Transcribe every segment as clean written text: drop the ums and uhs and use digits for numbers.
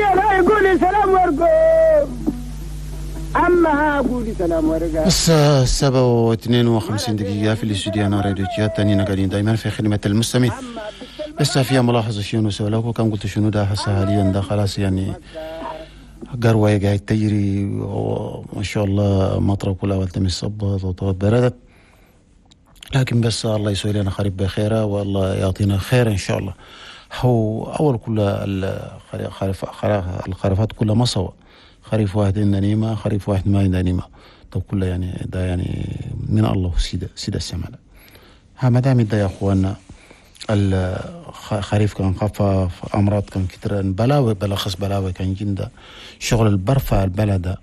لا يقولي سلام ورقو، أما قولي سلام ورقة. الساعة 7:52 في الاستوديو أنا راديو تشاد تانينا قاعدين دائما في خدمة المستمع. لسه فيها ملاحظة شنو سؤالك وكان قلت شنو ده هسه حاليا ده خلاص يعني قروة قاعد تجري وما شاء الله مطرة كلها والتمس صبت وطوت بردت، لكن بس الله يسوي لنا خريف بخيره والله يعطينا خير ان شاء الله. هو اول كل الخريفات كلها ما سوا، خريف واحد عندنا نيمة، خريف واحد ما عندنا نيمة. طب كله يعني ده يعني من الله سيد السماء. ها ما دام ده يا اخوانا الخريف كان خفف، امراض كان كتر، بلاوي بلاخص بلاوي كان جندا شغل البرفع البلد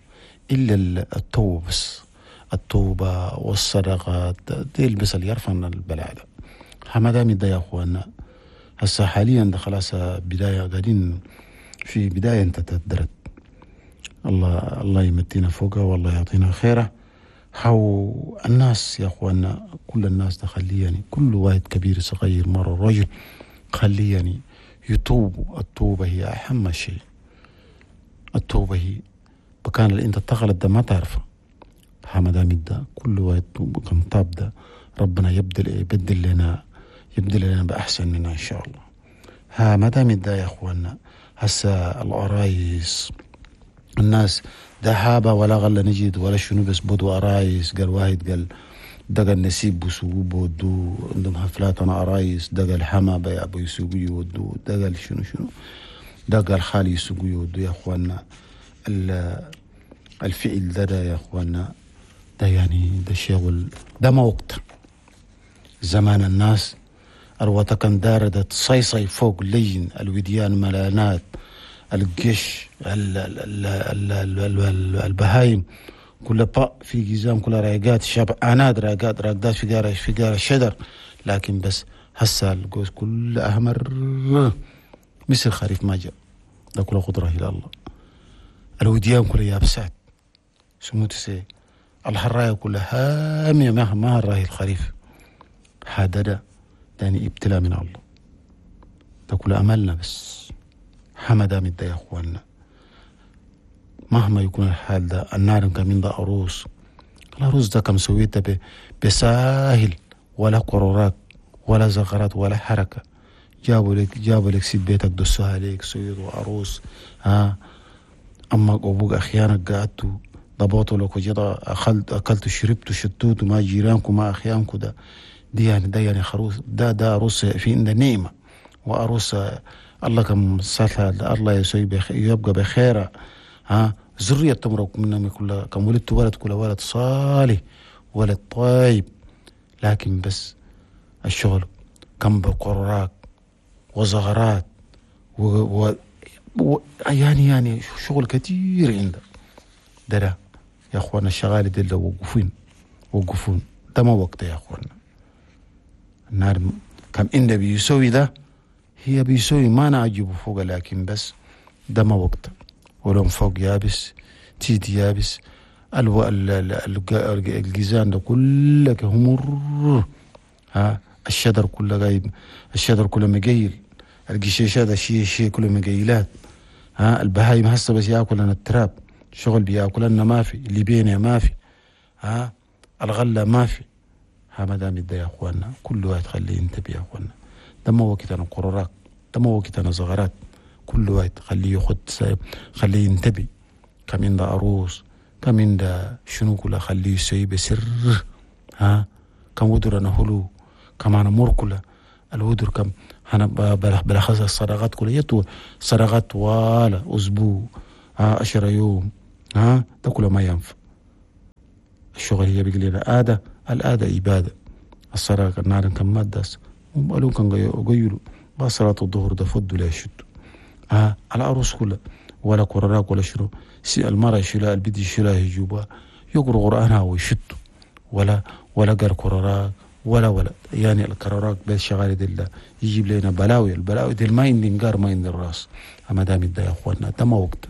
الا التوبه بس، التوبه والصدقات دي بس اللي يرفعنا البلاء ده. ها ما دام ده يا اخوانا هسه حاليا ده خلاص بدايه قاعدين في بدايه انت تدرت، الله يمتينا فوقها والله يعطينا خيره. حو الناس يا اخوانا كل الناس ده خلي يعني كل واحد كبير صغير مرة رجل خلي يعني يتوبوا. التوبة هي أهم شيء، التوبة هي بكان اللي انت تغلط ده ما تعرفه. ها ما دام ده كل واحد كان طاب ده ربنا يبدل لنا بأحسن منا إن شاء الله. ها ما دام ده يا اخوانا هسه العرايس الناس ده هابة ولا غلة نجد ولا شنو بس بدو أرايس. قال واحد قال دقا النسيب بسوقوا بودو عندهم حفلات أنا أرايس، دقا الحما بيابو يسوقوا يودو، دقا شنو شنو، دقا الخالي يسوقوا يودو. يا أخوانا الفعل ده يا أخوانا ده يعني ده شغل ده ما وقت. زمان الناس الوطا كان داردة صيصي فوق لين الوديان ملانات الجيش البهايم كل با في جزام كل رايقات شبعانات راقات راقدات في قارة في قارة شجر. لكن بس هسه الجوز كل أحمر مثل خريف ما جاء ده كله قدرة إلى الله. الوديان كلها يابسات سموت سي الحراية كلها هامية ما الراهي الخريف. هذا ده يعني ابتلاء من الله، ده كله أملنا بس. حمدا مد يا اخوانا مهما يكون الحال ده النار كمين ده عروس، العروس ده كم سويته بساهل ولا قرارات ولا زغرات ولا حركة. جابوا لك سيد بيتك دسوها عليك سويت وعروس. ها أمك وأبوك أخيانك قعدتوا ضبطوا لك وجدا أكلتوا شربتوا شتوتوا مع جيرانكم مع أخيانكم. ده دي يعني ده يعني خروس ده عروس في عندنا نعمة وعروس الله كم سهل الله يسوي يبقى بخير. ها ذرية تمرق منهم كلها كم ولدت ولد كل ولد صالح ولد طيب. لكن بس الشغل كم بقراك وزغرات و يعني شغل كثير عندك ده يا اخوانا. الشغالة دي اللي وقفون ده ما وقته يا اخوانا. النار كم إن بيسوي ده هي بيسوي ما نعجبه فوق، لكن بس ده ما وقته. ولون فوق يابس تيدي يابس الجيزان ده كلك همر. ها الشجر كله غايب، الشجر كله مقيل، القشيشات ده شيء كله مقيلات. ها البهايم هسه بس ياكل لنا التراب، شغل بياكل لنا ما في، اللي بينا ما في، ها الغله ما في. ها ما دام ده يا اخوانا كل واحد خليه ينتبه يا اخوانا. ده ما وقت انا قرارات، ده ما وقت انا زغرات. كل واحد خليه ياخد خليه ينتبه. كم عنده عروس كم عنده شنو كله خليه يسوي بسر. ها كم ودر انا هلو كم انا مر كله الودر كم انا بلخص الصدقات كلها يتو صدقات ولا اسبوع ها 10 يوم. ها ده كله ما ينفع. الشغل هي بيقول لنا عادة، العادة عبادة. الصدقة النار كم مادة قالوا كان قيلوا بس صلاة الظهر ده فضوا لا يشدوا. ها على عروس كلها ولا قراراك ولا شنو المرأة يشيلها البيت يشيلها يجيبها يقرأ قرآنها ويشدوا ولا قر قراراك ولا يعني القراراك بس شغالة دي يجيب لنا بلاوي. البلاوي دي ما عندي نقار ما عندي الراس. أما دام ده يا أخوانا ده ما وقت.